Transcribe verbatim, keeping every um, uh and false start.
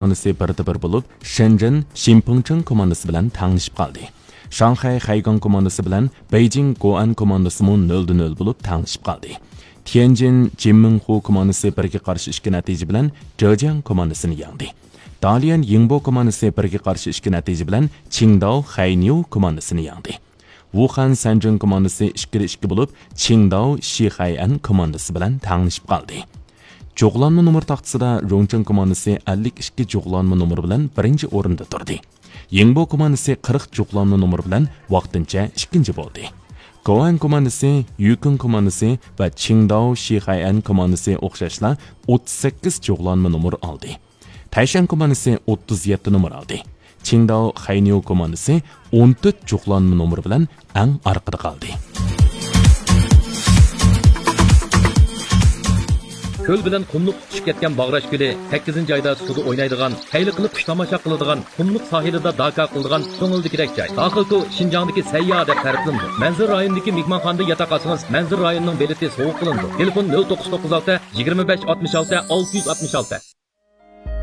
كوماندىسى بىردە بىر بولۇپ، شېنجېن شىنپىڭچېڭ كوماندىسى بىلەن تەڭلىشىپ قالدى. شاڭخەي خەيگاڭ كوماندىسى بىلەن بېيجىڭ گوئەن كوماندىسىمۇ نۆلدە نۆل بولۇپ تەڭلىشىپ قالدى. تيەنجىن جىنمىڭخۇ كوماندىسى بىرگە قارشى ئىككى نەتىجە بىلەن جېجياڭ كوماندىسىنى يەڭدى. داليەن يىڭبو كوماندىسى بىرگە قارشى ئىككى نەتىجە بىلەن چىڭداۋ خەينيۇ كوماندىسىنى يەڭدى. ۋۇخەن سەنجىڭ كوماندىسى ئىككىدە ئىككى بولۇپ، چىڭداۋ شىخەيئەن كوماندىسى بىلەن تەڭلىشىپ قالدى. جۇغلانما نومۇر تاختىسىدا رۇڭچىڭ كوماندىسى ئەللىك ئىككى جۇغلانما نومۇر بىلەن بىرىنچى ئورۇندا تۇردى. يىڭبو كوماندىسى قىرىق جۇغلانما نومۇر بىلەن ۋاقتىنچە ئىككىنچى بولدى. گوئەن كوماندىسى، يۈكۈڭ كوماندىسى ۋە چىڭداۋ شىخەيئەن كوماندىسى ئوخشاشلا ئوتتۇز سەككىز جۇغلانما نومۇر ئالدى. تەيشەن كوماندىسى ئوتتۇز يەتتە نومۇر ئالدى. چىڭداۋ خەينيۇ كوماندىسى ئون تۆت جۇغلانما نومۇر بىلەن ئەڭ ئارقىدا قالدى. كۆل بىلەن قۇملۇق تۇتىشىپ كەتكەن باغراش كۆلى، سەككىزىنچى ئايدا سۇدا ئوينايدىغان، خەيلى قىلىپ قۇش تاماشا قىلىدىغان، قۇملۇق ساھىلىدا داكا قىلىدىغان كۆڭۈلدىكىدەك جاي. داخىلكو شىنجاڭدىكى سەيياھ دەپ تەرىپلىنىدۇ. مەنزىرە رايونىدىكى مېھمانخانىدا ياتاق ئالسىڭىز، مەنزىرە رايونىنىڭ بېلىتى سوۋغا قىلىنىدۇ. تېلېفون: نۆل توققۇز توققۇز ئالتە، يىگىرمە بەش ئاتمىش ئالتە، ئالتە يۈز ئاتمىش ئالتە.